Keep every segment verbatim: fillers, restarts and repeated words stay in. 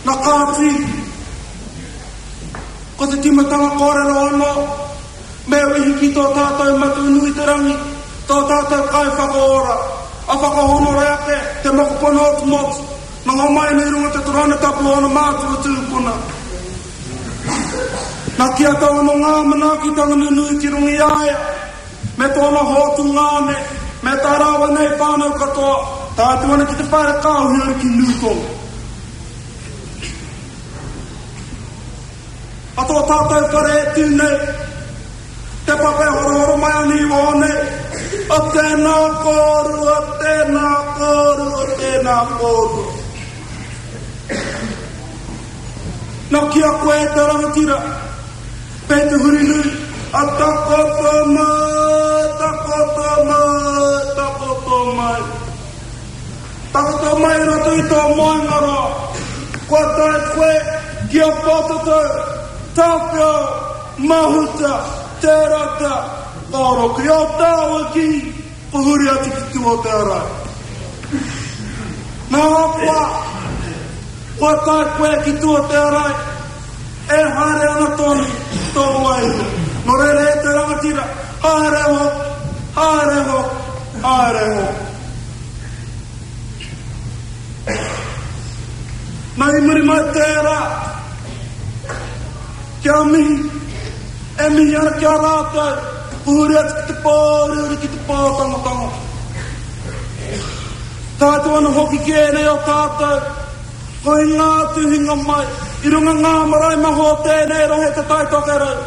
Na kāti, ko te timatanga kōrero anō, me wehi ki tō tātou Matua nui te rangi, tō tātou kai whakaora, a whakahonore ake te mokopona o te motu, na ngā mai nei runga te torona tapu ona mātua tūpuna. Na kia tau anō ngā manaakitanga nunui ki runga i a ia, me tōna hotu ngāne, me tā rāua nei whānau katoa, tā atu ana ki te whare kāhui ki Nūtonga. A tō tātou whare e tū nei, te pape horohoro mai ani i waho nei, o tēnā kōrua, tēnā kōrua, tēnā kōrua. Nā kia koe e te rangatira, pē te huri nui, a takoto mai, takoto mai, takoto mai. Takoto mai roto i tō moengaroa, kua tae koe ki a Pōtatau, Tāwhiao, Mahuta, Te Rata, Koro ki o tāua ki, ko huri atu ki tua o te arai. Nā hapua, kua tae koe ki tua o te arai, e haere ana tonu tō wairua. Nō reira e te rangatira, haere hoki, haere hoki, haere hoki. Nā i muri mai tērā, kia mihi, e mihi ana kia rātou, huri atu ki te pōuriuri ki te pōtangotango. Tātou ana hoki ki ēnei o tātou, ko i ngā tuhinga mai, i runga ngā marae maha o tēnei rohe te Tai Tokerau.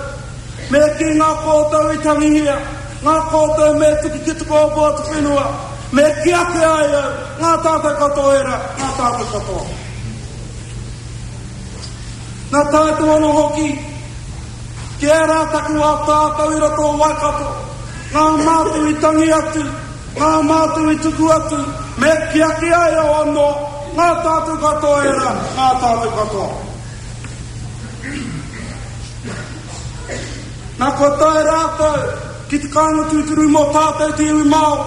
Me ki ngā kōtau i tangihia, ngā kōtau me tuki ki te kōpō te whenua, me ki ake ai au, ngā tātou katoa era, ngā tātou katoa. Nā tātou ana hoki, ki ērā taku wā tātou i roto o Waikato, ngā mātou i tangi atu, ngā mātou i tuku atu, me ki ake ai au anō, ngā tātou katoa era, ngā tātou katoa. Nā kua tae rātou ki te kāinga tūturu mō tātou te iwi Māori,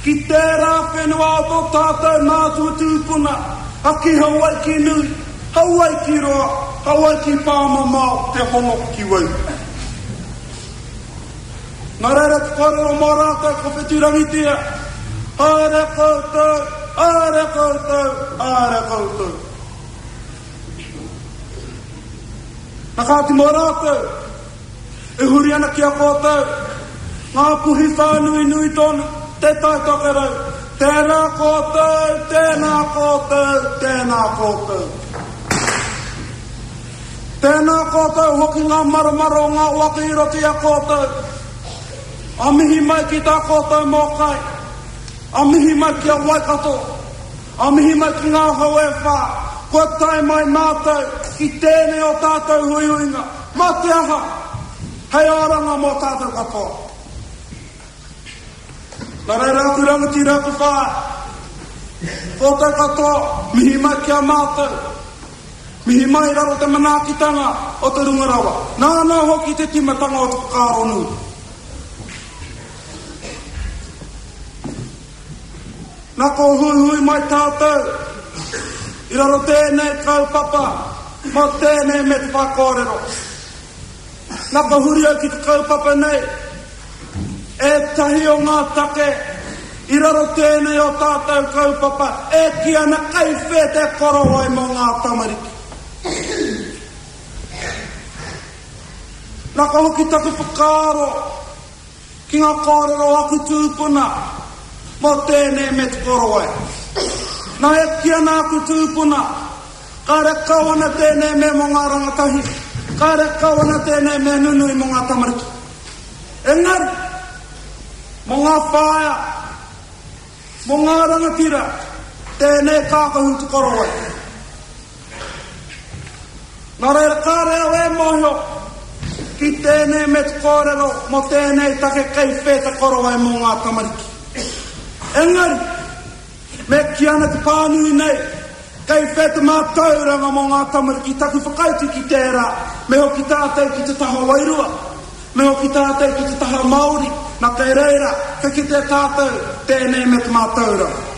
ki tērā whenua o tō tātou mātua tūpuna, a ki Hawaiki nui, Hawaiki roa, Hawaiki pāmamao, te hono ki wai. Nā reira te kōrero mō rātou ko wheturangitia, haere koutou, haere koutou, haere koutou. Nā kāti mō rātou, e huri ana ki a koutou, ngā puhi whānui nui tonu, te Tai Tokerau, tēnā koutou, tēnā koutou, tēnā koutou. Tēnā koutou hoki ngā maromaro o ngā waka i roto i a koutou. A mihi mai ki tā koutou mōkai, a mihi mai ki a Waikato, a mihi mai ki ngā hau e whā, kua tae mai mātou ki tēnei o tātou huihuinga, mā te aha, hei oranga mō tātou katoa. Nā reira aku rangatira aku whā, koutou katoa, mihi mai ki a mātou, mihi mai raro te manaakitanga o te runga rawa, nāna hoki te timatanga o te whakaaro nui. Nā ko huihui mai tātou, i raro tēnei kaupapa, mō tēnei me te whakōrero. Nā ka huri au ki te kaupapa nei, e tahi o ngā take, i raro tēnei o tātou kaupapa, e ki ana kaiwhē te korowai mō ngā tamariki. Nā ka hoki taku whakaaro ki ngā kōrero aku tūpuna mō tēnei me te korowai. Nā e ki ana aku tūpuna, kāre kau ana tēnei me mō ngā rangatahi, kāre kau ana tēnei me nunui mō ngā tamariki. Engari, mō ngā whaea, mō ngā rangatira, tēnei kākahu te korowai. Nā reira kāre au e mōhio ki tēnei me te kōrero mō tēnei take kei whē te korowai mō ngā tamariki. Engari, me ki ana te pānui nei, kei whē te mātauranga mō ngā tamariki taku whakautu ki tērā, me hoki tātou ki te taha wairua, me hoki tātou ki te taha Māori, nā kei reira, ka kite tātou tēnei me te mātauranga.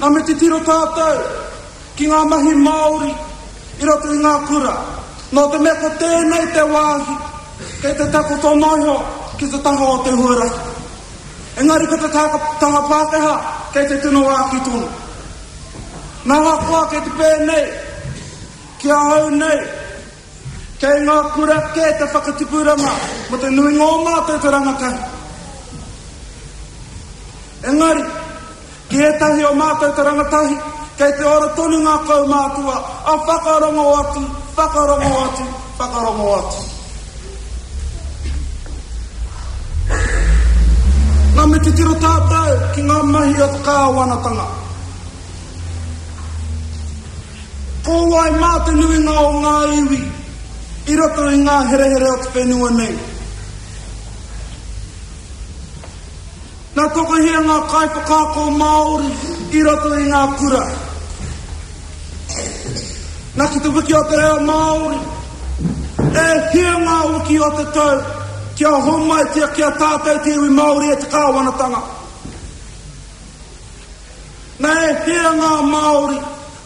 Nā me titiro tātou ki ngā mahi Māori i roto i ngā kura. Nō te mea ko tēnei te wāhi kei te takoto noho ki te taha o te huarahi. Engari ko te taha Pākehā kei te tino āki tonu. Nā hakoa kei te pēnei, ki ahau nei, kei ngā kura kē te whakatipuranga mo te nuinga o mātou te rangatahi. Engari, ki ētahi o mātou te rangatahi, kei te ora tonu ngā kaumātua, a whakarongo atu, whakarongo atu, whakarongo atu. Nā me titiro tātou ki ngā mahi o te kāwanatanga. Ko wai mā te nuinga o ngā iwi i roto i ngā herehere o te whenua nei. Nā tokohia ngā kaiwhakaako Māori i roto i ngā kura. Nā ki te wiki o te reo Māori, e hia ngā wiki o te tau kia homaitia kia tātou te iwi Māori e te kāwanatanga. Nā e hia ngā Māori,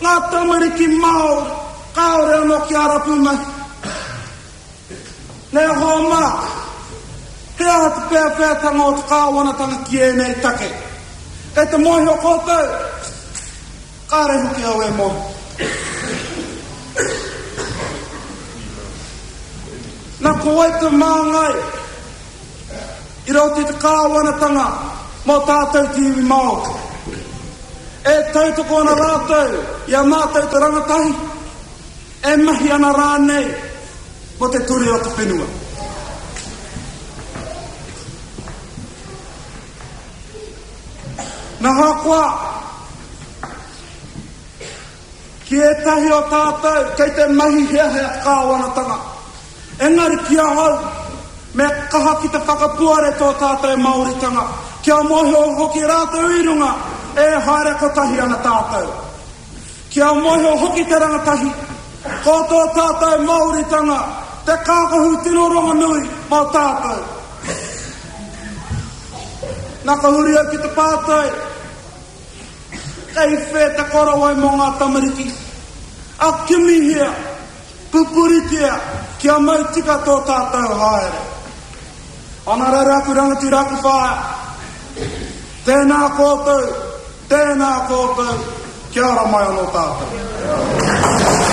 ngā tamariki Māori, kāore anō ki a rapu mahi. Nē hoa mā, he aha te pēwhētanga o te kāwanatanga ki ēnei take. Kei te mōhio koutou, kāre hoki au e mōhio. Nā ko wai te māngai i roto i te kāwanatanga mō tātou te iwi Māori. E tautoko ana rātou i a mātou te rangatahi, e mahi ana rānei mō te ture o te whenua. Nā hakoa, ki ētahi o tātou kei te mahi heahea kāwanatanga. Engari ki ahau, me kaha ki te whakapuare tō tātou Māoritanga, kia mōhio hoki rātou i runga, e haere kotahi ana tātou. Kia mōhio hoki te rangatahi, ko tō tātou Māoritanga, te kākahu tino rongonui mō tātou. Nā ka huri au ki te pātai, kei whē te korowai mō ngā tamariki. A kimihia, pupuritia, kia mau tika tō tātou haere. Ana rere aku rangatira aku whaea, tēnā koutou, tēnā koutou, kia ora mai anō tātou.